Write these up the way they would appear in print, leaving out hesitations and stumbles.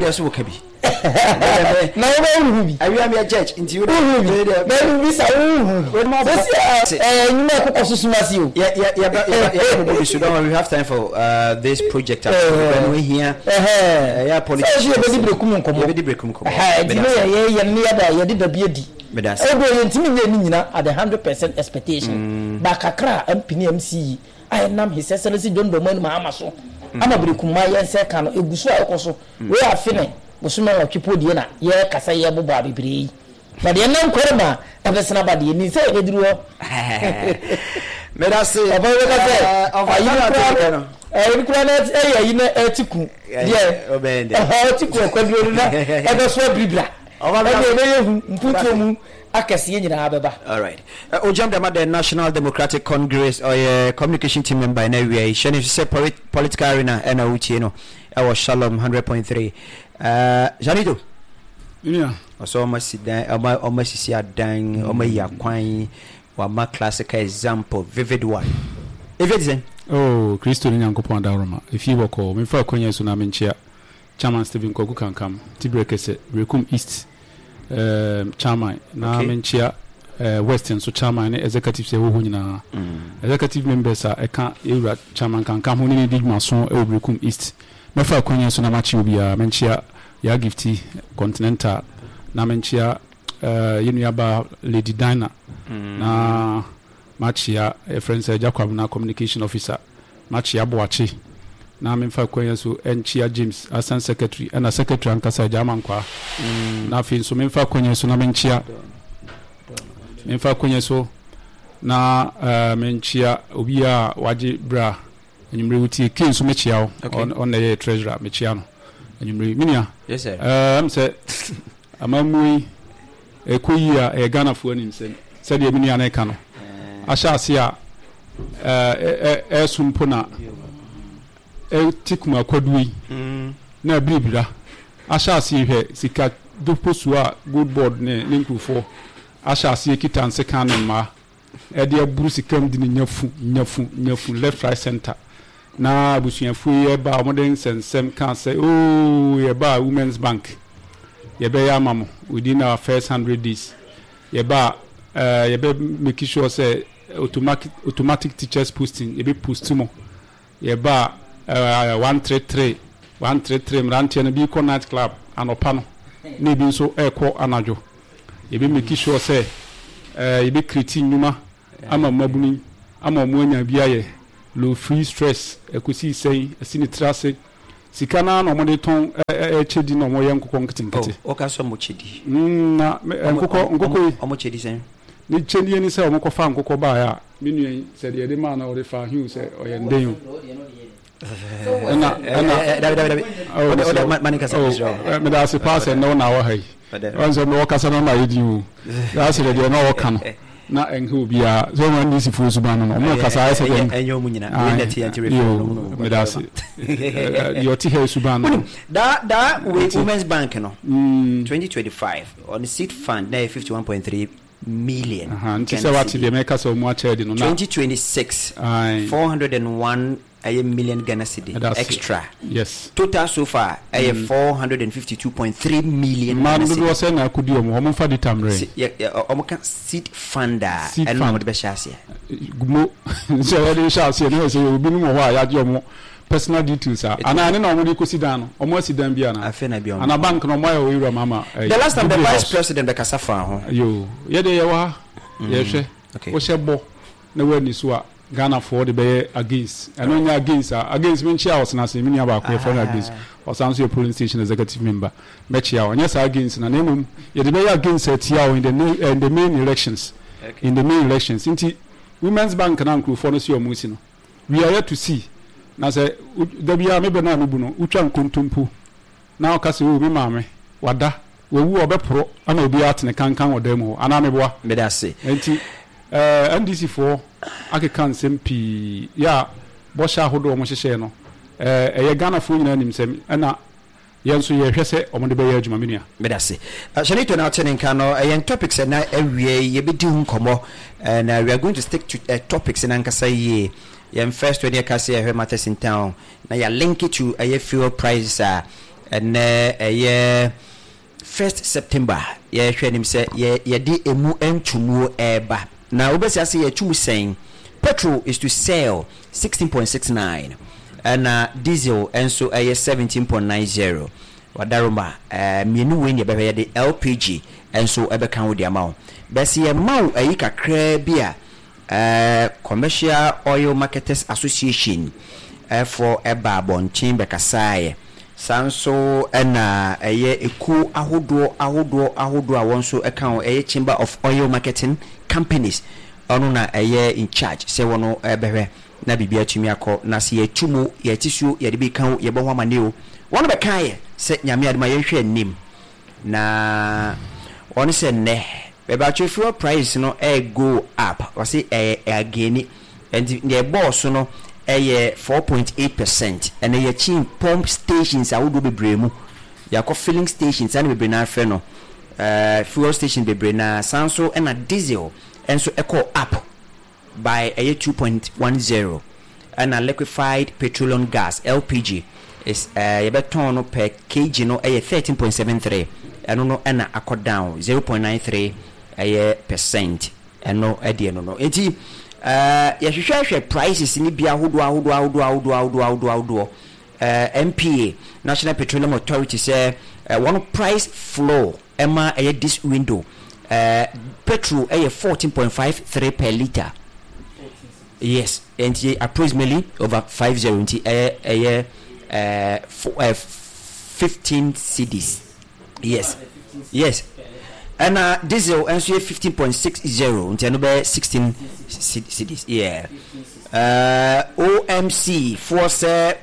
deɛ so woka bi. Na wobɛhuhu bi. Awia meyɛ judge nti wode. Wohu bi. Na bisa wohu bi. Sɛsi a nnwuma ɛkokɔ so sum ase o. Yɛ yɛ yɛ yɛ yɛ bɔ bi so. Don't worry, we have time for this project. Ɛno ehia. Ɛyɛ politics. Sɛ yɛbɛdi berekum nkɔmɔ. Yɛbɛdi berekum nkɔmɔ. Nti ne yɛ yɛ yɛ ne yɛda yɛde da bi adi. Ɛwɔ yɛntumi nyɛ ne nyina at the 100% expectation. Ba kakra a MP ne MC yi a ɛnam His Excellency John Dramani Mahama so ama berekum ma yɛn nsa ɛka no egu so a ɛkɔ so. Wei afe ne bosome 8 po deɛ na yɛrekasa yɛrebobɔ a bebree yi. Na deɛ ɛnam kware mu a ɛbɛsene aba deɛ nim sɛ yɛbɛduru hɔ. Medase. Papa yi bɛka sɛ ayi no koraa no ayi no koraa no ɛyɛ ayi no ɛte ku deɛ ɛte ku akwaduro no na ɛbɛso abiribira ɛdeɛ ɛbɛyɛ hu mpuntuo mu akɛseɛ nyinaa bɛba. Alright. Ojam Dama the National Democratic Congress ɔyɛ communication team member ɛna awia yi hyɛ ne nso sɛ political arena ɛna wotie no ɛwɔ Shalom 100.3. Janito. Nua. Ɔsɛ ɔma si dan ɔma ɔma sisi adan ɔma yi akwan wama classical example vivid one. Efi ti sɛn? Oh, Kristo ne Nyankopɔn adaworoma. Efie bɔkɔɔ. Memfa akwanya yi so na menkyea Chairman Stephen Kwaku Kankam, Tibrɛkɛsɛ, Berekum East um, Chairman, na okay. menkyea uh, West nso Chairman ne executives ɛwɔ hɔ nyinaa. Executive members a ɛka yɛwura Chairman Kankam ho ne ne di dwumaso ɛwɔ Berekum East. Mɛfa akwanya yi so na makye obiara. Menkyea Yaa Gifty Continental, na menkyea uh, yɛn nuabaa Lady Dinah, na makyea yɛfrɛ no sɛ Agya Kwabena Communication Officer, makyea Boakye, na memfa akwanya so nkyea James Assistant Secretary ɛna Secretary ankasa Agya Amankwaa, na afei nso memfa akwanya so na menkyea memfa akwanya so na uh, menkyea obiara a wagye bra Anwummere wo tie Kay nso mekyea wo. Okay. Ɔno na ɛyɛ treasurer mekyea no. Anwummere me nua. Yes sir. Ɛɛ sɛ amammuo yi ɛkɔ yie a ɛyɛ Ghanafoɔ animsɛm sɛdeɛ me nua no ɛka no. Ahyɛ ase a ɛɛ ɛso mpo na ɛte kumakwaduo yi mm. na abiribira ahyɛ ase hwɛ sika doposuo a gold board ne ne nkurɔfoɔ ahyɛ aseɛ kita nsekan ne mmaa. Ɛde aburu sika mu de no nyafu nyafu nyafu left right center na abusuafoɔ yi ɛba a wɔde nsɛnsɛm kaa sɛ oo yɛba a women's bank yɛbɛyɛ ama mo within our first 100 days, yɛba a yɛbɛ make sure sɛ automatic teachers posting, yɛbɛ post mo, yɛba a 133 133 mmeranteɛ no bi kɔ night club anɔpa no na ebi nso ɛrekɔ anadwo, yɛbɛ make sure sɛ yɛbɛ create nnwuma ama mmabunu yi ama wɔn anya bi ayɛ low free stress. Ɛkɔsi sɛn ɛsi ne tiri ase sika naa na wɔde tɔn ɛkyɛ di na wɔyɛ nkokɔ nketenkete. Oh, ɔka sɛ ɔmo kyɛ di. Na nkokɔ yi. Ɔmo kyɛ di sɛn? Ne kyɛdie ne sɛ wɔn kɔfa nkokɔ baeɛ a me nua yi sɛ deɛ yɛde maa no ɔde fa hiw sɛ ɔyɛ nden o. Ɛna Dabi, dabi, dabi. Oh, Ɔde mesrɛ wo. ma ne nkasa, Oh, mesrɛ wo. Meda ase paa sɛ nnɛ wo na wɔ ha yi. Ɔn sɛ mewɔ kasa no ma yɛ din o. Daa sɛ deɛ na ɔka no na ɛnha obiara. Sɛ ɔmo NDC foɔ suban no no, ɔmo kasa ayɛ sɛ deɛ. Ɛnyɛ ɔmo nyina. Wei na ɛte yɛn ti refi ɔmo no. Meda ase. Deɛ ɔte ha yi suban no. Wonim, daa wei Nti. Women's Bank no, 2025, ɔno seed fund na ɛyɛ 51.3 million. Aha, nti sɛ wate deɛ mɛka sɛ ɔmo akyɛ adi no na. 2026, Aye. 401 ɛyɛ million Ghana cedi Ɛda ase. extra. Yes. Total so far ɛyɛ 452.3 million Mmaa Ghana no dodoɔ cedi. sɛ na akɔdi ɔmo, ɔmo nfa data mmerɛ. Yɛ, yɛ, ɔmo ka seed fund a, Seed ɛno na fund. ɔmo de bɛhyɛ aseɛ. Mo sɛ yɛde hyɛ aseɛ na yɛ sɛ yɛwɔ binom wɔ hɔ a yɛagye ɔmo personal details a anaa ne na ɔmo de kɔsi dan no, ɔmo asi dan bi anaa Afei na bi ɔmo. Anaa bank na ɔmo ayɛ wɔ ewura mu ama The last time the Jubilee vice House. president bɛkasa faa ho. Yo, yɛdeɛ yɛwɔ ha yɛhwɛ wohyɛ bɔ na woani so a Ghanafoɔ de bɛyɛ against ɛno nyɛ against a against menkyea ɔsena ase me nua baako yɛfrɛ no against, ɔsan nso yɛ polling station executive member, mɛkyea wo. Ɛnyɛ saa against na mmom yɛde bɛyɛ against atia wo in the main elections, in the main elections. Nti women's bank na nkurɔfoɔ no si ɔmo si no, we are yet to see. Na sɛ da biara mebɛ no a mebu no wotwa nkontompo na ɔka sɛ, "O me maame wada, wawu a ɔbɛporɔ ama obiara atene kankan wɔ dan mu hɔ," anaa meboa? Meda ase. Nti NDC foɔ akeka nsɛm pii yɛ a bɔhyɛ ahodoɔ a wɔhyehyɛɛ no ɛyɛ Ghanafoɔ nyinaa nim sɛm ɛna yɛn nso yɛhwɛ sɛ wɔde bɛyɛ adwuma, me nua. Meda ase. Shanito na ɔte ne nka no. Yɛn topics ɛna awie yi yɛbɛdi ho nkɔmmɔ na we are going to stick to topics no ankasa yie. Yɛn first one yɛka sɛ yɛhwɛ matters in town na yɛ link to ɛyɛ fuel prices a. Ɛnnɛ ɛyɛ first September, yɛhwɛ anim sɛ yɛ yɛde emu ntumuo ɛreba. Na wobɛsi ase yɛtu mu sɛn? Petrol is to sell 16.69 ɛna diesel nso ɛyɛ 17.90. Wadaroma, ɛɛ mmienu wei na yɛbɛhwɛ, yɛde LPG nso ɛbɛka ho de ama wo. Bɛsi yɛma wo ayi kakraa bi a ɛɛ Commercial Oil Marketers Association foɔ baa abɔnten bɛkasaeɛ. Saa nso na ɛyɛ ekuo ahodoɔ ahodoɔ ahodoɔ a wɔn nso ka ho, ɛyɛ Chamber of Oil Marketing Companies, ɔno na ɛyɛ in charge sɛ wɔn bɛhwɛ na biribi atumi akɔ. Na sɛ yɛtu mu, yɛte suo, yɛde bi ka o, yɛbɔ ho amaneɛ o, wɔn bɛkaeɛ sɛ Nyame adom a yɛnhwɛ anim. Na wɔn sɛ nnɛ bɛbatwe fuel price no ɛ go up, wɔse ɛyɛ againi, nti deɛ ɛbɔɔ so no ɛyɛ 4.8%. Ɛnɛ yɛkyin pump stations ahodoɔ bebree mu, yɛakɔ filling stations saa na bebree naa frɛ no, ɛɛ fuel station bebree naa. Saa nso ɛna diesel nso ɛkɔɔ up by ɛyɛ 2.10, ɛna liquefied petroleum gas, LPG, is ɛɛ yɛbɛtɔn no per kg no ɛyɛ 13.73, ɛno no ɛna akɔ down 0.93 ɛyɛ percent, ɛno ɛdeɛ no no. Nti ɛɛ yɛhwehwɛ hwɛ prices no bi ahodoɔ ahodoɔ ahodoɔ ahodoɔ ahodoɔ ahodoɔ ahodoɔ. Ɛɛ NPA, National Petroleum Authority, sɛ ɛɛ wɔn price floor ɛma ɛyɛ this window, ɛɛ petrol ɛyɛ 14.53 per litre. Yes, nti approximately over 50, nti ɛyɛ ɛyɛ ɛɛ ɛɛ 15 cedis. Yes, yes. Ɛna diesel nso yɛ 15.60, nti ɛno bɛyɛ 16 cedis. Yeah. Ɛɛ OMC foɔ sɛ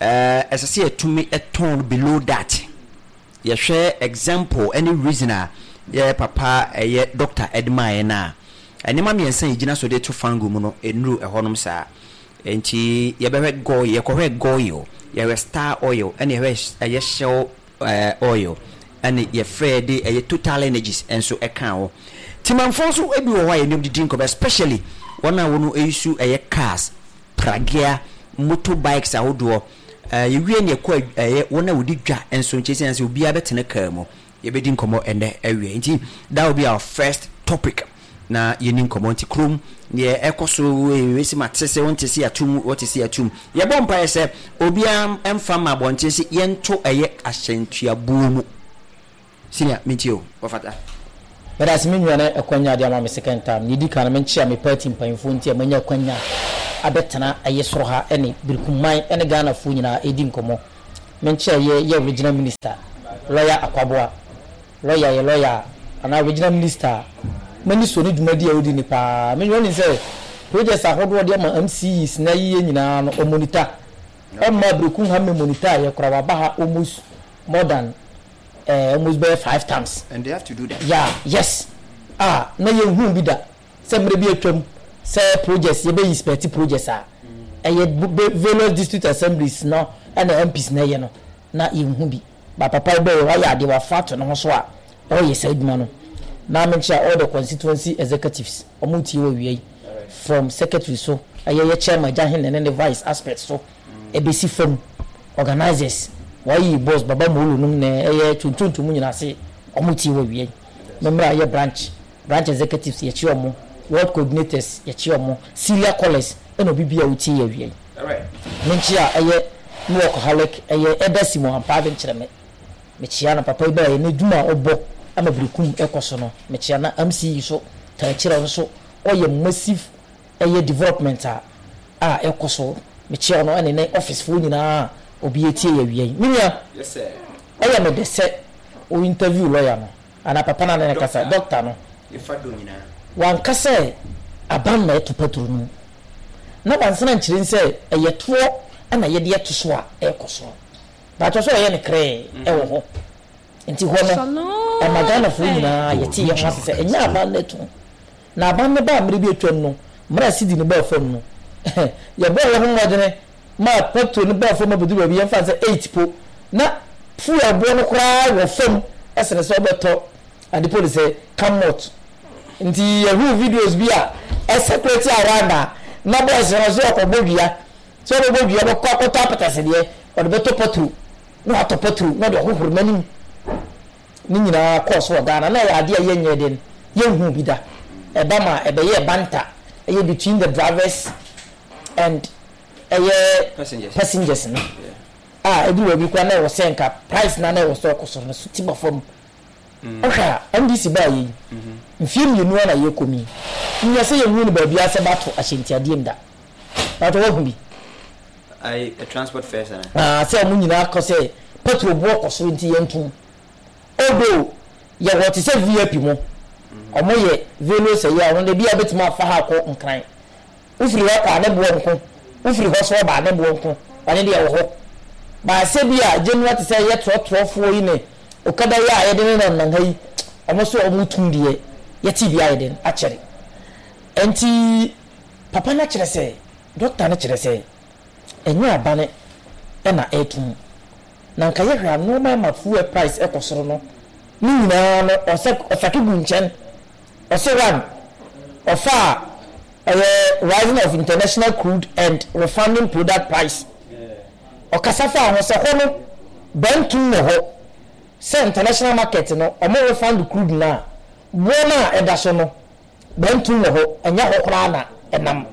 ɛɛ ɛsɛ sɛ yɛtumi tɔn below that. Yɛhwɛ example ɛne reason a yɛ papa ɛyɛ doctor ɛde maa yɛn a, nneɛma mmiɛnsa a yɛgyina so de to fango mu no ɛnnuru ɛhɔnom saa. Nti yɛbɛhwɛ goil, yɛkɔhwɛ goil, yɛhwɛ star oil, ɛne yɛhwɛ ɛyɛ shell oil, ɛne yɛfrɛ de ɛyɛ total energies nso ɛka ho. Timanfoɔ nso ebi wɔ hɔ a yɛne wɔn didi nkɔmɔ, especially wɔn a wɔn ɛyisu ɛyɛ cars, pragea, motor bikes ahodoɔ. Yɛwie ne yɛkɔ ɛyɛ wɔn a wɔdi dwa nso nkyɛn sɛ sɛ obiara bɛtena car mu. Yɛbɛdi nkɔmɔ ɛnɛ awie. Nti that will be our first topic na yɛni nkɔmɔ. Nti kurom deɛ ɛkɔ so wei ma te sɛ wɔnte sɛ yɛatum, wɔte sɛ yɛatum. Yɛbɔ mpaeɛ sɛ obiara mfa ma abɔnten sɛ yɛnto ɛyɛ ahyɛntuabuo mu. Senior, mentie o, wɔfata. Meda ase me nua na akwanya ade ama me second time. Nea edi kan no menkyea me party mpanyimfoɔ nti a manya akwanya abɛtena ɛyɛ soro ha ɛne Birikumman ɛne Ghanafoɔ nyinaa ɛredi nkɔmmɔ. Menkyea yɛ yɛ regional minister lawyer Akwaboah. Lawyer yɛ lawyer a anaa regional minister a m'ani sɔ ne dwumadi a ɔdi no paa. Me nua wonim sɛ projects ahodoɔ ɔde ama MCEs na ayeyɛ nyinaa no ɔmonita. Ɔmma Berekum ha mmɛmonita yɛ koraa waba ha almost more than eh, almost bɛyɛ five times. And they have to do that. Yeah, yes. Ah, na yɛnhuu bi da sɛ mmerɛ bi atwam sɛ projects yɛbɛ inspect projects a ɛyɛ various district assemblies no ɛna MPs na ɛyɛ no na yɛnhu bi. Ba papa yi bɛyɛ wayɛ adeɛ wafa ato ne ho so a ɔreyɛ saa adwuma no. Na menkyerɛ all the constituency executives wɔn tie wɔ wia yi from secretary so ɛyɛ yɛ chairman Gyahene ne ne vice aspect so ɛbɛsi fam organisers wɔayi boss Baba Molo nom na ɛyɛ tontonto mu nyinaa ase wɔn tie wɔ wia yi. Memmra yɛ branch branch executives yɛkye wɔn, ward coordinators yɛkye wɔn, senior callers ɛna obi bi a wotie yɛ awia yi. Menkyea ɛyɛ me workaholic ɛyɛ Elder Simon Ampaave nkyerɛ me. Mekyea no papa yi baeɛ n'adwuma a ɔbɔ ama Berekum ɛkɔ so no mekyea na MC yi so taa kyerɛ ɔno nso ɔyɛ massive ɛyɛ development a a ɛkɔ so mekyea ɔno ɛne ne office foɔ nyinaa a obi ɛtie yɛ awia yi. Me nua ɛyɛ me dɛ sɛ wo interview lawyer no anaa papa no a ne ne kasa doctor no wanka sɛ aban na ɛto patro no mu na wansana nkyerɛ sɛ ɛyɛ toɔ na yɛde ato so a ɛrekɔ so. Baakyɛ sɛ ɔyɛ ne krɛɛ ɛwɔ hɔ nti hɔ no ɛma Ghanafoɔ nyinaa yɛte yɛn ho ase sɛ ɛnyɛ aban no atum na aban no baa mmerɛ bi atwam no mmerɛ a sidi no baa fam no yɛbɔɔ yɛn ho mmɔdene maa petrol no baa fam abɛduru baabi yɛmfa no sɛ 8 po na fuel boɔ no koraa wɔ fam ɛsene sɛ wobɛtɔ ade po de sɛ camot nti yɛhuu videos bi a ɛsɛkrɛti around a na boys no sɛ ɔkɔbɔ dua sɛ ɔbɛbɔ dua bɛkɔ akɔtɔ apɛtɛsedeɛ ɔde bɛtɔ petrol. Na watɔ pɛtro na ɔde ɔhohoro n'anim. Ne nyinaa kɔɔ so wɔ Ghana. Na ɛyɛ adeɛ a yɛnyɛɛ den, yɛnhuu bi da. Ɛba ma ɛbɛyɛɛ banter, ɛyɛ between the drivers and ɛyɛ passengers no. A ɛduru baabi koraa na ɛwɔ sɛ nka price no a na ɛwɔ sɛ ɔkɔ soro no so ti ba fam. Wohwɛ a, NDC baeɛ yi, mfeɛ mmienu ara na yɛrekɔ mu yi, nyɛ sɛ yɛnhuu no baabiara sɛ bɛato ahyɛntiadeɛ mu da. Paatɔ woahu bi? Ayi, transport fares anaa? Ah, sɛ wɔn nyinaa kɔ sɛ petrol boɔ kɔ soro nti yɛntom. Although, yɛwɔ te sɛ VIP mo, wɔn yɛ various ɛyɛ a, wɔn de bi a wobɛtumi afa ha akɔ Nkran. Wofiri hɔ kɔ a ne boɔ nko, wofiri hɔ so ba a ne boɔ nko, ɔno deɛ ɛwɔ hɔ. But sɛ bi a general te sɛ yɛ trɔtrɔfoɔ yi ne okada yi a yɛde nenam nam ha yi, wɔn nso wɔn tum deɛ yɛte bi ayɛ den akyɛre. Nti papa no akyerɛ sɛ, doctor no kyerɛ sɛ ɛnyɛ abane na ɛretum. Na nka yɛhwɛ a nnoɔma ɛma fuel price ɛkɔ soro no ne nyinaa no ɔsɛ ɔsake gu nkyɛn. Ɔse one, ɔfaa ɛyɛ rising of international crude and refining product price. Ɔkasa faa ho sɛ hɔ no bɛntom wɔ hɔ sɛ international market no ɔmo refund crude no a, boɔ no a ɛda so no bɛntom wɔ hɔ, ɛnyɛ hɔ koraa na ɛnam.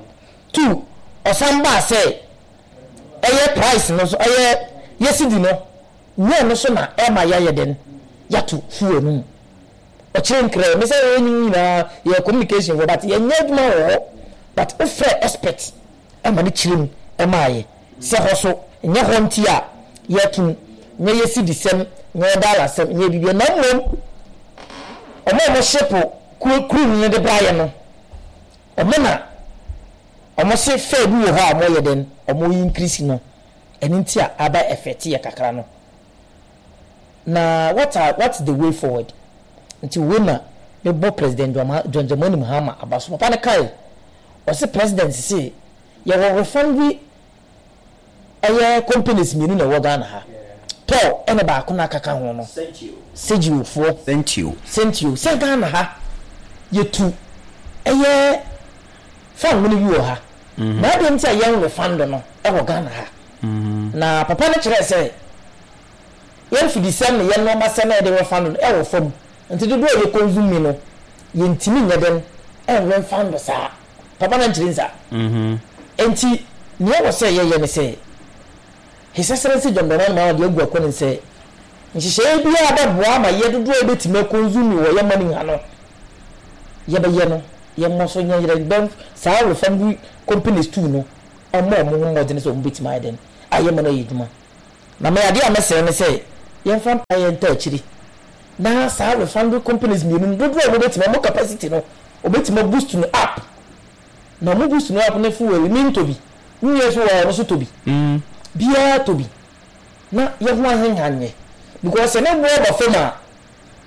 Two, ɔsan baa sɛ ɛyɛ price no nso ɛyɛ yɛ cedi no nyɛ ɛno so na ɛma yɛayɛ dɛn yɛato fuel no mu. Ɔkyerɛ nkrɛ me sɛ yɛn nyinaa yɛyɛ communication foɔ but yɛnyɛ adwuma wɔ hɔ but wo frɛ expert ma no kyerɛ mu maa yɛ sɛ hɔ so nyɛ hɔ nti a yɛto nyɛ yɛ cedi sɛm nyɛ yɛ dollar sɛm nyɛ biribiara na mmom ɔmo a ɔmo ship kuru no de bra yɛ no ɔmo na ɔmo se fare bi wɔ hɔ a ɔmo yɛ dɛn ɔmo increase no ɛno nti a aba effect yɛ kakra no. Na what are what's the way forward? Nti wei na me bɔ President John Dramani Mahama aba so. Papa no kae, ɔse President se yɛwɔ refinery ɛyɛ companies mmienu na ɛwɔ Ghana ha. Tor ɛna baako na akaka ho no. Segio foɔ. Sentio. Sentio. Sɛ Ghana ha yɛtu ɛyɛ fango no bi wɔ ha. Na adɛn nti a yɛn refund no ɛwɔ Ghana ha? Na papa no kyerɛɛ sɛ yɛn mfidisɛm ne yɛn nnoɔmasɛm a yɛde refa no no wɔ fam, nti dodoɔ a yɛ consume no yɛntumi nyɛ dɛn nremfa no saa. Papa no ankyerɛ nsa. Nti nea ɛwɔ sɛ yɛyɛ ne sɛ His Excellency John Dramani Mahama de agu akɔ ne sɛ nhyehyɛeɛ biara bɛboa ama yɛ dodoɔ a yɛbɛtumi aconsume wɔ yɛn man ha no yɛbɛyɛ no yɛmmɔ so nyɛ yerɛ bɛn saa refinery companies too no wɔmmɔ wɔn ho mmɔden sɛ wɔbɛtumi ayɛ dɛn ayɛ ma no ayɛ adwuma. Na me adeɛ a mɛsrɛ ne sɛ yɛmfa mpaeɛ ntaa akyiri na saa refinery companies mmienu no dodoɔ a wɔbɛtumi wɔn capacity no wɔbɛtumi a boost no up na wɔn boost no up ne fuel me ntɔ bi me nua nso wɔ hɔ ɔno nso tɔ bi biara tɔ bi na yɛ ho ahenha nyɛ because sɛ ne boɔ ba fam a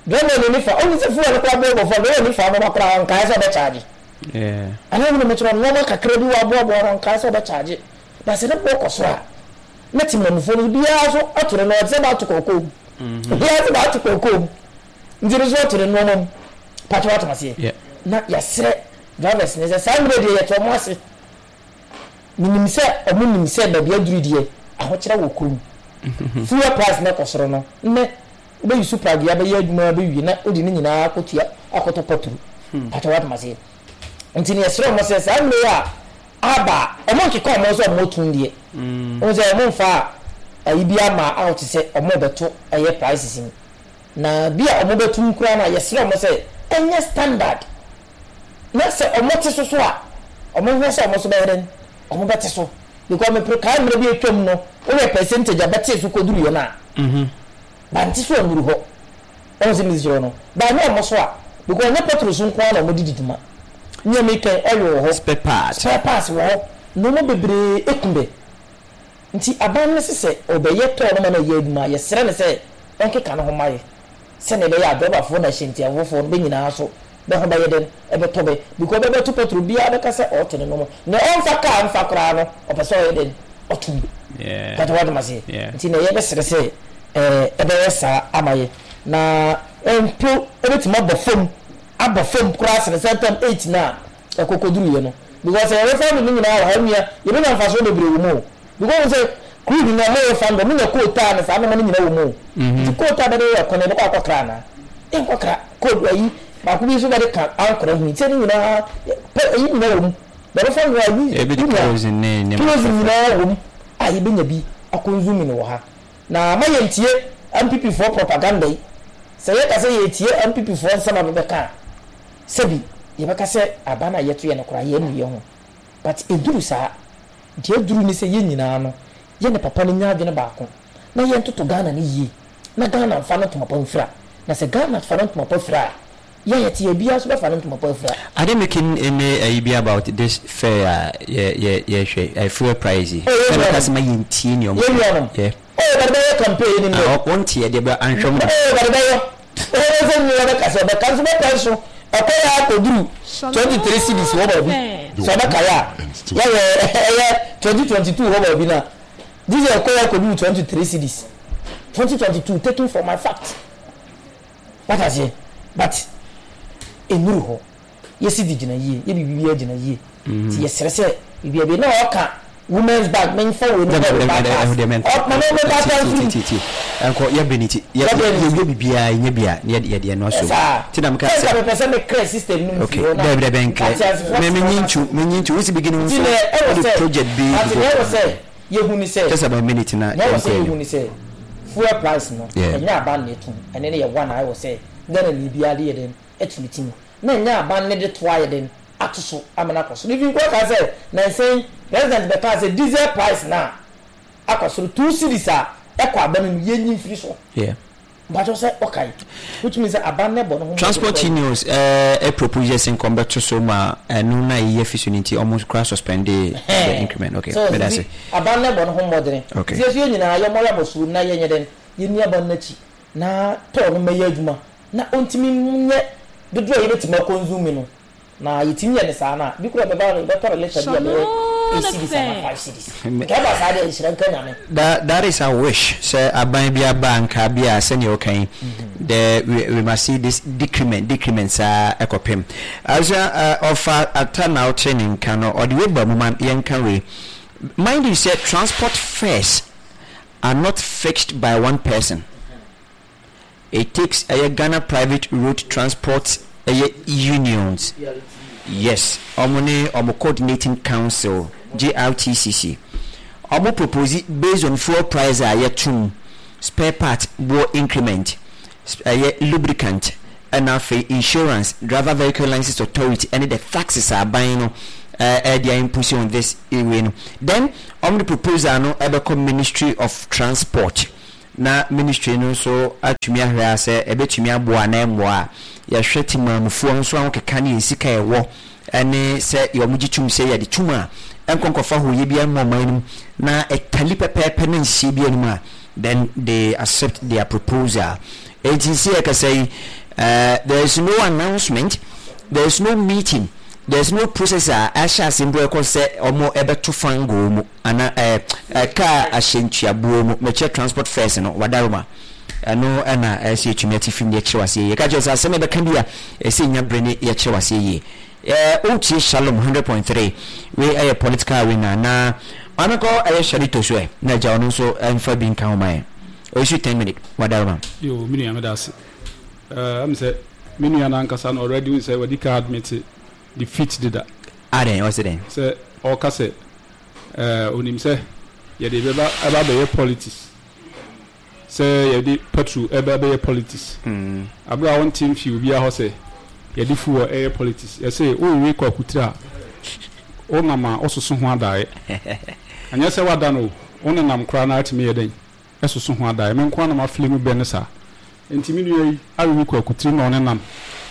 driver no ni fa ɔno sɛ fuel no koraa boɔ ba fam driver no fa nneɛma koraa ɔnkae sɛ ɔbɛkyagye anaa wɔn na mɛkyerɛ nneɛma kakra bi wɔ aboaboa no ɔnkae sɛ ɔbɛkyagye na sɛ ne boɔ kɔ so a na temamufoɔ no biara nso ato ne nneɛma te sɛ baato kɔkɔɔ mu mhm. obiara nso baato kɔkɔɔ mu nti no nso ato ne nneɛma mu pàtó ato aseɛ na yɛasrɛ drivers ne sɛ saa mmerɛ deɛ yɛte wɔn ase menim sɛ wɔn nim sɛ baabi aduru deɛ ahokyerɛ wɔ kurom mhm. fuel price na ɛkɔ soro no nnɛ wobɛyi so pragea bɛyɛ adwuma bɛwie na wode ne nyinaa akɔtua akɔtɔ pɔturu hmm. pàtó ato aseɛ nti ne yɛsrɛ wɔn sɛ saa mmerɛ a Aba a, ɔmo nkeka ɔmo ho sɛ ɔmo tun deɛ. Wohu sɛ ɔmo nfa ayi biara mmaa out sɛ ɔmo rebɛto ɛyɛ prices mu. Na bi a ɔmo bɛtum koraa no a, yɛsrɛ ɔmo sɛ ɛnyɛ standard. Na sɛ ɔmo te so so a, ɔmo nhwɛ sɛ ɔmo nso bɛyɛ dɛn? Ɔmo bɛte so. Because mepere kae mmerɛ bi atwam no, wohwɛ percentage a bɛtee so kɔduruiɛ no a, bante so annuru hɔ. Wahu sɛ mesi kyerɛ wo no? But ɛnyɛ ɔmo so a, because ɛnyɛ petrol so nko ara na ɔmo de di dwuma. Nea meka yi, oil wɔ hɔ, Spare parts. spare parts wɔ hɔ, nnoɔma bebree eku bɛ. Nti aban no se sɛ ɔbɛyɛ tɔɔ no ma no ayɛ adwuma a, yɛsrɛ no sɛ ɔnkeka ne ho mma yɛ, sɛnea ɛbɛyɛ a drɔbafoɔ ne ahyɛntiafofoɔ no bɛ nyinaa so bɛ ho bɛyɛ dɛn? Ɛbɛtɔ bɛ. Because ɔbɛbɛto petrol, biara bɛka sɛ ɔɔto ne nnoɔma. Nea ɔmfa car mfa koraa no, ɔpɛ sɛ ɔyɛ dɛn? Ɔto bi. Mpakyɛ wate maseɛ? Nti na yɛbɛsrɛ sɛ ɛbɛyɛ saa ama yɛ. Na mpo ɛbɛtumi abɔ fam, abɔ fam koraa sene sɛ tam 8 no a ɛkɔkɔduruiɛ no. Because sɛ yɛrefa no ne nyinaa wɔ ha nua, yɛbɛnya mfasoɔ bebree wɔ mu o. Because wohu sɛ Crude no ɔmo refund ɔmo nya coal tar ne saa nnoɔma no nyina wɔ mu o. Nti coal tar bɛde yɛ kwan yɛbɛkɔ akɔ kra anaa? Yɛnkɔ kra coal ayi baako bi nso bɛde ka ankora ho yi sɛ ne nyinaa pɛ ayi nyina wɔ mu. Bɛbɛfa no ayi Yɛbɛdi kerosene ne nneɛma kerosene fɛfɛ. nyinaa wɔ mu a yɛbɛnya bi akɔnzumi no wɔ ha. Na ma yɛntie NPP foɔ propaganda yi. Sɛ yɛka sɛ yɛretie NPP foɔ nsɛm a bɛbɛka a, sɛbi yɛbɛka sɛ aba no a yɛtoeɛ no koraa yɛannu yɛn ho. But ɛduru saa. Deɛ aduru ne sɛ yɛn nyinaa no, yɛne papa no nya adwene baako na yɛntoto Ghana no yie na Ghana mfa no ntoma pa mfira. Na sɛ Ghana fa no ntoma pa fira a, yɛn a yɛte ha biara nso bɛfa no ntoma pa afira. Are they making any ayi bi about this fare a yɛ yɛ yɛhwɛ yi, fuel price yi? Oh, yɛn Sɛ bɛka nuanom. sɛ ma yɛntie nea wɔn Yɛn nuanom. Yeah. Oh, bɛde bɛyɛ campaign yɛnim Ah, dɛ. ɔ- wɔnte yɛ deɛ bɛ anhwɛ wɔn da. Oh, bɛde bɛyɛ. Ɔbɛyɛ sɛ nea ɔbɛka sɛ ɔbɛka nso bɛpɛ nso ɛkɔ yɛ akɔduru 23 cedis hɔ baabi sɛ ɔbɛkae a yɛyɛ ɛyɛ 2022 hɔ baabi na gye sɛ ɛkɔ yɛ akɔduru 23 cedis 2022 taken for my fact wata aseɛ but ɛnuru hɔ yɛ cedi gyina yie yɛ biribiara gyina yie nti yɛsrɛ sɛ biribiara bi na ɔka women's bank menfa wei no bɛ ba pass ɔma me me ba pass firi ti ti ɛnkɔ yɛ bɛ ne ti yɛ yɛ biribiara nyɛ bia ne yɛ deɛ no aso ti na meka sɛ mepɛ sɛ me clear system no mu firi hɔ na dɛbi dɛbi nkɛ me me nyi ntu me nyi ntu wosi beginning nso wode project bi ati na ɛwɔ sɛ yɛhu ni sɛ just about a minute na na ɛwɔ sɛ yɛhu ni sɛ fuel price no ɛnyɛ aban na ɛtum ɛne ne yɛ one a ɛwɔ sɛ Ghana ni biara de yɛ den ɛto ne ti mu na ɛnyɛ aban ne de toa yɛ den ato so ama no akɔ soro. Even koraa kaa sɛ nansa yi president bɛkaa sɛ diesel price no a akɔ soro 2 cedis a ɛkɔ aba no mu yɛnyi mfiri so. Mpakyɛw sɛ ɔkae which means sɛ aban no bɔ ne ho mmɔden Transport koraa. unions eh, propose sɛ nka ɔmbɛto so ma ɛno na ɛyi afi so no nti ɔmo koraa suspend the increment. Okay, So meda nti ase. aban no bɔ ne ho mmɔdene. Okay. Nti yɛso yɛn nyinaa yɛmmɔ yɛn abɔsoɔ mu na yɛnyɛ dɛn yɛnni aban no akyi na tɔɔ no mmɛyɛ adwuma na ɔntumi nyɛ dodoɔ a yɛbɛtumi akɔnsume no. Na yɛtumi yɛ no saa no a, bi koraa ɛbɛba no yɛbɛtɔ no litre bi a ɛbɛyɛ eight cedis anaa 5 cedis. Nka ɛba saa deɛ nhyira nka Nyame. That is our wish sɛ aban bi aba a nka bi a sɛnea ɔka yi the we must see this decrement decrement saa ɛkɔpem. Abusua ɔfa ata na ɔte ne nka no ɔde wei ba mu ma yɛnka wei. Mind you sɛ transport fares are not fixed by one person. It takes ɛyɛ Ghana private road transport ɛyɛ unions yes ɔmo ne ɔmo coordinating council GRTCC ɔmo propose based on fuel price a yɛtom spare part boɔ increment ɛyɛ lubricant ɛna afei insurance driver vehicle license authority ɛne the taxes a aban no ɛde a impose on this wei no then ɔmo de proposal no ɛbɛkɔ ministry of transport Na ministry no nso atumi ahwɛ ara sɛ ɛbɛtumi aboa anaa ɛmmoa a, yɛhwɛ temanmufoɔ nso ahokeka ne yɛn sika a ɛwɔ ne sɛ wɔgye tom sɛ yɛde tom a ɛnkɔ nkɔfa hooyɛ biara mma ɔman no mu na ɛtali pɛpɛɛpɛ na nhyehyɛeɛ biara nni mu a, then they accept their proposal. Enti sɛ yɛkasa yi, uh, there is no announcement, there is no meeting, there is no process a ahyɛ ase mpo ɛkɔ sɛ wɔn ɛbɛto fangoo mu. Ana ɛɛ ɛ kaa ahyɛntuabuo mu mekyerɛ transport fares no wadaroma ɛno ɛna ɛsɛ yɛtumi ate fim yɛkyerɛ waseɛ yie ka kyerɛ sɛ asɛm ɛbɛka bi a ɛsɛ nya bere ne yɛkyerɛ waseɛ yie ɛɛ wotie Shalom 100.3 wei ɛyɛ political arena na maame kɔ ɛyɛ Sharito so ɛ na agya ɔno nso ɛmfa bi nka ho ma yɛn ɔyɛ 10 minute wadaroma. Yoo me nua meda ase ɛɛ ɛm sɛ me nua no ankasa no already wohu sɛ wadi kan admit defeat deda. Adɛn ɔse dɛn? Sɛ ɔka sɛ Eh, onim sɛ yɛde bɛba ɛba abɛyɛ politics, sɛ yɛde petrol ɛba abɛyɛ politics. Abere a wonte mfi obiara hɔ sɛ yɛde fuel ɛyɛ politics. Yɛse worewe kwakutire a, wonam a wososo ho adaeɛ. Ɛnyɛ sɛ woada no o, wonenam koraa na atumi yɛ dɛn? Ɛsoso ho adaeɛ. Me nko ara na mafili mu bɛ no saa. Enti me nua yi awewe kwakutire na ɔnenam,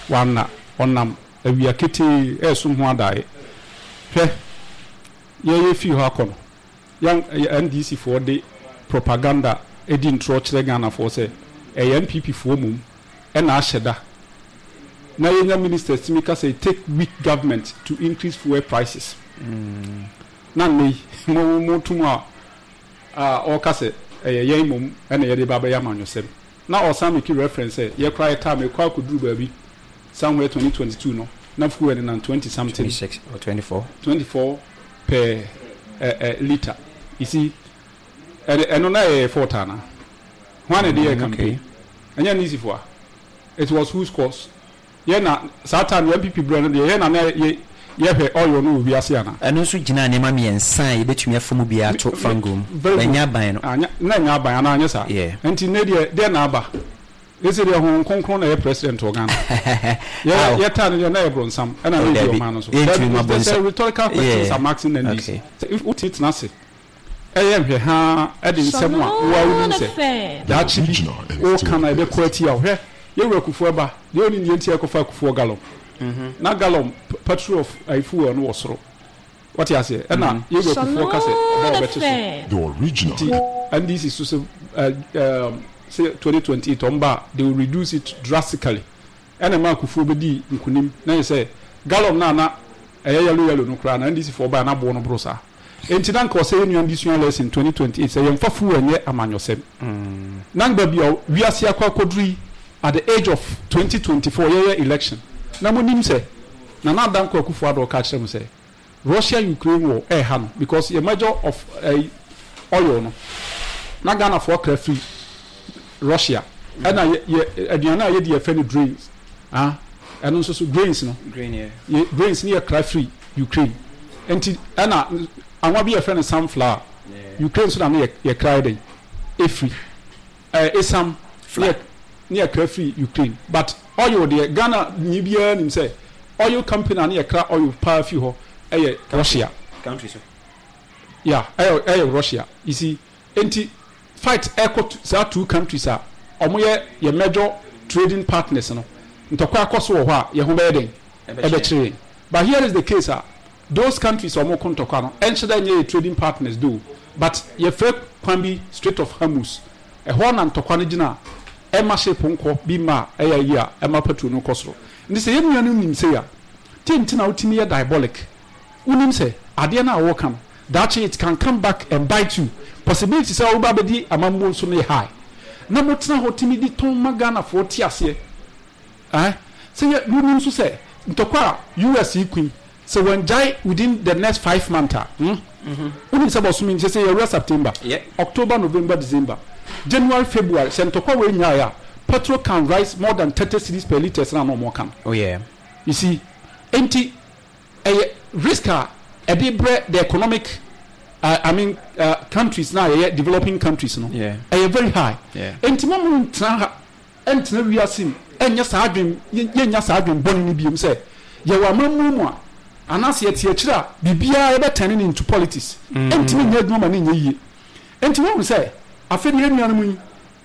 wanna, ɔnam awia ketee ɛresom ho adaeɛ. Hwɛ! Yɛyɛ fii hɔ akɔ no, yɛn NDC foɔ de propaganda di ntorɔ kyerɛ Ghana foɔ sɛ ɛyɛ NPP foɔ mmom na ahyɛ da na yɛnya ministers tumi ka sɛ it take weak government to increase fuel prices. Na nnɛ yi mo mo to mu a a ɔreka sɛ ɛyɛ yɛn mmom na yɛde ba abɛyɛ amanyɔsɛm. Na ɔsan make reference sɛ yɛ koraa yɛ time ɛkɔ akɔduru baabi somewhere 2022 no na fuel no nam 20 something 26 or 24. 24 per litre. You see? Ɛde ɛno na ɛyɛ fault ana? Hwan na ɛde yɛɛ campaign? Ɛnyɛ NDC foɔ a? It was whose cause? Yɛ na saa time no NPP berɛ no deɛ yɛ na na yɛ yɛhwɛ oil no wɔ wiase ana? Ɛno nso gyinaa nneɛma mmiɛnsa a yɛbɛtumi afa mu biara to fangoo mu. Very good. Ɛnyɛ aban no. Anyɛ na ɛnyɛ aban anaa anyɛ saa? Yeah. Nti nnɛ deɛ deɛ na aba? Sese deɛ Honhom Kronkron na ɛyɛ president wɔ Ghana. Yɛ Aw. yɛ taa no deɛ na ɛyɛ bronsam ɛna Oh, na ɛdi dabi. ɔman no so. Yɛntumi Dabi ma it's just bonsam. a rhetorical questions Yeah. I'm asking NDC. Okay. Sɛ if wote tena ase ɛyɛ nhwɛ haa ɛde nsɛm a wo ara wonim sɛ daakye bi woka no a ɛbɛkɔ atia wo. Hwɛ yɛ wura Kufuor ba deɛ ɔnim deɛ nti a ɛkɔfaa Kufuor gallon. Na gallon petrol of ayi fuel no wɔ soro. Wate aseɛ? Ɛna yɛ wura Kufuor ka sɛ ɔba a ɔbɛte so. Nti NDC so sɛ ɛɛ sɛ 2028 wɔn ba a they will reduce it drastically. Ɛna ɛmaa Kufuor bɛdii nkunim. Na yɛ sɛ gallon no a na ɛyɛ yellow yellow no koraa na NDC foɔ baeɛ na aboɔ no boro saa. Enti na anka ɔsɛ yɛn nua de sua lesson 2028 sɛ yɛmfa fuel nyɛ amanyɔsɛm. Na baabi a wiase akɔ akɔduru yi at the age of 2024 yɛyɛ election na monim sɛ Nana Dankwa Akufo Addo ɔka kyerɛ mo sɛ Russia Ukraine war ɛɛha no because yɛ major of ɛyi oil no na Ghanafoɔ kra firi Russia ɛna yɛ yɛ aduane a yɛdi yɛfrɛ no grains ah ɛno nso so grains no Grain yeah. yɛ grains no yɛ kra firi Ukraine nti ɛna anwa bi yɛfrɛ no sunflower Ukraine nso na ne yɛ yɛ kra yɛ dɛn efiri ɛɛ esam ne yɛ ne yɛ kra firi Ukraine but oil deɛ Ghana nyi biara nim sɛ oil company a ne yɛ kra oil paa firi hɔ ɛyɛ Russia Country so. yeah ɛyɛ ɛyɛ Russia you see nti fight ɛkɔ saa two countries a ɔmo yɛ yɛ major trading partners no ntɔkwa akɔ so wɔ hɔ a yɛn ho bɛyɛ dɛn ɛbɛkyerɛ yɛn but here is the case a those countries a ɔmo ko ntɔkwa no ɛnhyɛ dɛ nyɛ yɛ trading partners though but yɛfrɛ kwan bi Strait of Hormuz ɛhɔ na ntɔkwa no gyina a ɛma ship nkɔ bi mma a ɛyɛ ayi a ɛma petrol no kɔ soro nti sɛ yɛn nua no nim sei a deɛ nti na wotumi yɛ diabolic wonim sɛ adeɛ no a wɔka no daakye it can come back and bite you possibility sɛ woba abɛdi amammuo nso no yɛ high na motena hɔ tumi de tɔn ma Ghanafoɔ te aseɛ eh sɛ yɛ wonim nso sɛ ntɔkwa a US yi kui sɛ wɔngyae within the next 5 months a wonim sɛ bɔsome sɛ sɛ yɛwura September, October, November, December, January, February sɛ ntɔkwa wei nyae a petrol can rise more than 30 cedis per litres na na ɔmo ka no. Oh yeah. You see, enti ɛyɛ risk a ɛde brɛ the economic I mean countries na yɛyɛ developing countries no ɛyɛ very high. Enti mo mo ntena ha ɛntena wiase mu ɛnyɛ saa adwen yɛnya saa adwen bɔne no biom sɛ yɛwɔ amammuo mu a anaasɛ yɛte akyire a biribiara yɛbɛtɛne no into politics ɛntumi nyɛ adwuma ma ne nyɛ yie. Enti wohu sɛ afei deɛ yɛn nuanom yi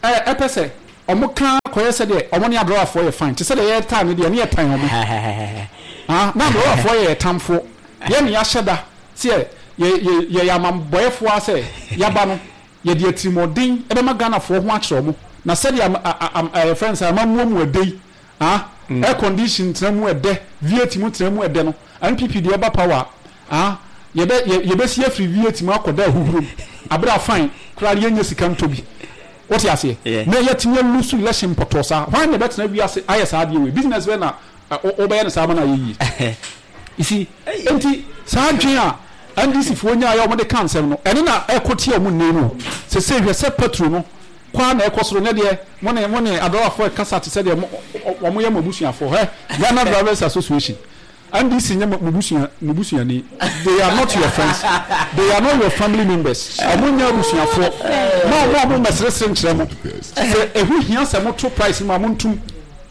ɛpɛ sɛ ɔmo ka kɔyɛ sɛ deɛ ɔmo ne adɔrafoɔ yɛ fine te sɛ deɛ yɛtaa no deɛ ne yɛtan ɔmo ah na adɔrafoɔ yɛ yɛtamfoɔ yɛn ne yɛahyɛ da sɛ yɛ yɛ yɛyɛ amambɔyɛfoɔ a sɛ yɛaba no yɛde atirimɔden ɛbɛma Ghanafoɔ ho akyerɛ ɔmo na sɛdeɛ am am yɛfrɛ no sɛ amammuo mu ɛdɛ yi ah air condition tena mu ɛdɛ V8 mu tena mu ɛdɛ no NPP deɛ ɛba power ah yɛbɛ yɛ yɛbɛsi afiri V8 mu akɔda ahuhuro mu abere afan koraa yɛnyɛ sika ntɔ bi wote aseɛ na yɛtumi alose election pɔtɔɔ saa hwan na ɛbɛtena wiase ayɛ saa adeɛ wei business bɛ na wobɛyɛ no saa ma no ayɛ yie you see nti saa adwene a NDC foɔ nyaayɛ a wɔde ka nsɛm no ɛne na ɛkɔ tia wɔn nne no sese hwɛ sɛ petrol no kwan na ɛkɔ soro ne deɛ mo ne mo ne adɔlafoɔ ɛkasa te sɛ deɛ mo wɔn yɛ mo abusuafoɔ hɛ Ghana Drivers Association NDC nyɛ mo busua mo busuani they are not your friends they are not your family members ɔmo nyɛ abusuafoɔ mo a mo a mo mmɛseresere nkyerɛ mo sɛ ɛho hia sɛ mo to price no mu a mo ntum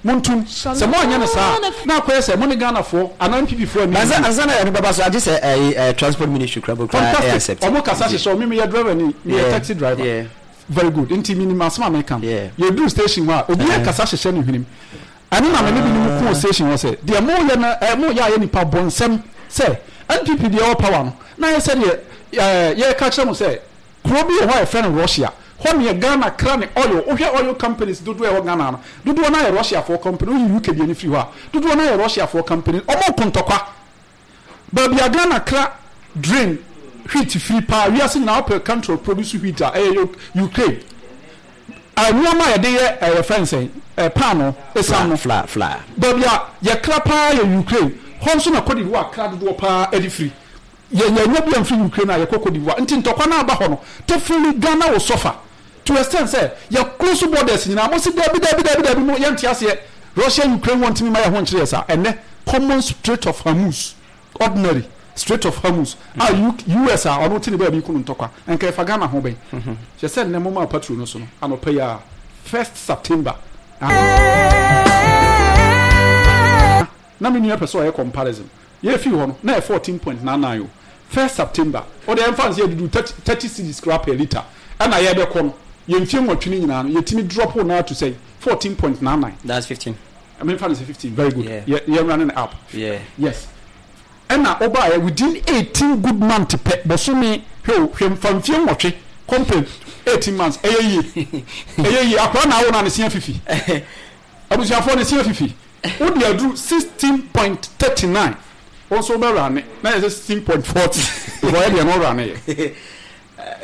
mo ntum sɛ mo anyɛ no saa na akɔyɛ sɛ mo ne Ghanafoɔ anaa NPP foɔ ani Ansa ansa na ɛno bɛba so agye sɛ ɛyi ɛ transport ministry kura bɔ kura ɛyɛ fantastic accept. Ɔmo kasa hyehyɛ ɔmo mi yɛ driver ni mi yɛ taxi driver very good nti mi nim asɛm a mi ka no yɛ duru station hɔ a obi yɛ kasa hyehyɛ ne hwenem ɛno na me ne binom kɔɔ station hɔ sɛ deɛ moyɛ no ɛ moyɛ ayɛ nipa bɔnsɛm sɛ NPP deɛ ɛwɔ power no na ayɛ sɛ deɛ ɛɛ yɛreka kyerɛ mo sɛ kuro bi wɔ hɔ a yɛfrɛ no Russia hɔ neɛ Ghana kra ne oil wohwɛ oil companies dodoɔ ɛwɔ Ghana no dodoɔ no ayɛ Russiafoɔ company woyi UK deɛ no firi hɔ a dodoɔ no ayɛ Russiafoɔ company ɔmo ko ntɔkwa Baabi a Ghana kra drain wheat firi paa wiase nyinaa wopɛ country a produce wheat a ɛyɛ Ukraine. Nneɛma a yɛde yɛ yɛfrɛ no sɛn paano esiam no Flour, flour. baabi a yɛkra paa yɛ Ukraine hɔ nso na Cote d'Ivoire kra dodoɔ paa de firi. Yɛ yɛnya bi amfiri Ukraine a yɛkɔ Cote d'Ivoire. Nti ntɔkwa no aba hɔ no, definitely Ghana will suffer to extent sɛ yɛ close borders nyinaa. Mo se daabi daabi daabi daabi mo yɛnte aseɛ. Russia Ukraine war ntumi mma yɛn ho nkyere yɛ saa. Ɛnnɛ common Strait of Hormuz, ordinary Strait of Hormuz a US a ɔno te ne baabi ko no ntɔkwa, nka ɛfa Ghana ho bɛn? Hyɛ sɛ nnɛ momaa patrol no so no anɔpa yi ara, first September. Na me nua pɛ sɛ ɔyɛ comparison. Yɛfii hɔ no, na ɛyɛ 14.99 o. First September, wo deɛ yɛmfa no sɛ yɛduduu 30, 30 cedis koraa per litre. Ɛna yɛrebɛkɔ no, yɛn mfeɛ nwɔtwe no nyinaa no, yɛtumi drop no ara to sɛn? 14.99. That's 15. Memfa no sɛ 15, very good. Yeah. Yɛ, yɛn running up. Yeah. Yes. Ɛna wobaeɛ, within 18 good month pɛ, bosome, hwɛ o, hwɛ mfa mfeɛ nwɔtwe compare 18 months, ɛyɛ yie. Ɛyɛ yie. Akwadaa na awo no a ne se afifi. Abusuafoɔ ne se afifi. Wo de aduru 16.39 wo nso wobɛ rane na yɛ sɛ 16.40 because yɛ deɛ no rane yɛ.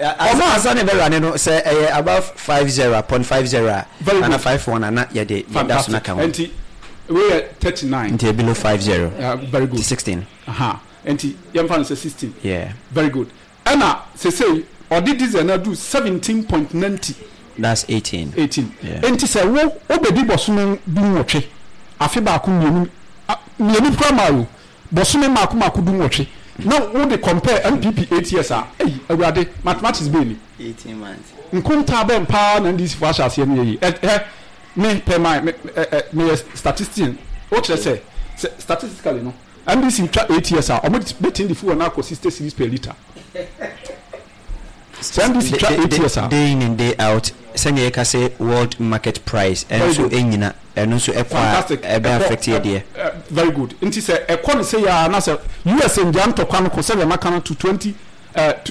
Ɔmo ansa na ɛbɛ rane no sɛ ɛyɛ above 50 a point 50 a ana 51 a na yɛde yɛda so na ka ho. Nti wei yɛ 39. Nti below 50. Very good. Nti 16. Aha nti yɛmfa no sɛ 16. Yeah. Very good. Ɛna sesei ɔde diesel no aduru 17.90. That's 18. 18. Yeah. Enti sɛ wo wobɛdi bɔsome du nwɔtwe, afe baako mmienu, mmienu koraa maa o, bɔsome mmaako mmaako du nwɔtwe, na wode compare NPP 8 years a, ei Awurade, mathematics bɛn ni? 18 months. Nkontaa bɛn paa na NDC foɔ ahyɛ aseɛ no yɛ yi? Ɛ, hɛ, me pɛ my, me, ɛ, ɛ, meyɛ statistician, wokyerɛ sɛ, sɛ statistically no, NDC twa 8 years a, wɔn bɛtumi de fuel no akɔ 60 cedis per litre. Sɛ NDC twa 8 years a. Day in and day out, sɛnea yɛka sɛ world market price Very ɛnso good. ɛnyina, ɛno nso ɛkɔ a Fantastic. ɛbɛ Ɛkɔ, affect yɛ deɛ. very good. Nti sɛ ɛkɔ no sei ara na sɛ US ngyaa ntɔkwa no ko sɛdeɛ maka no to 20, eh, to.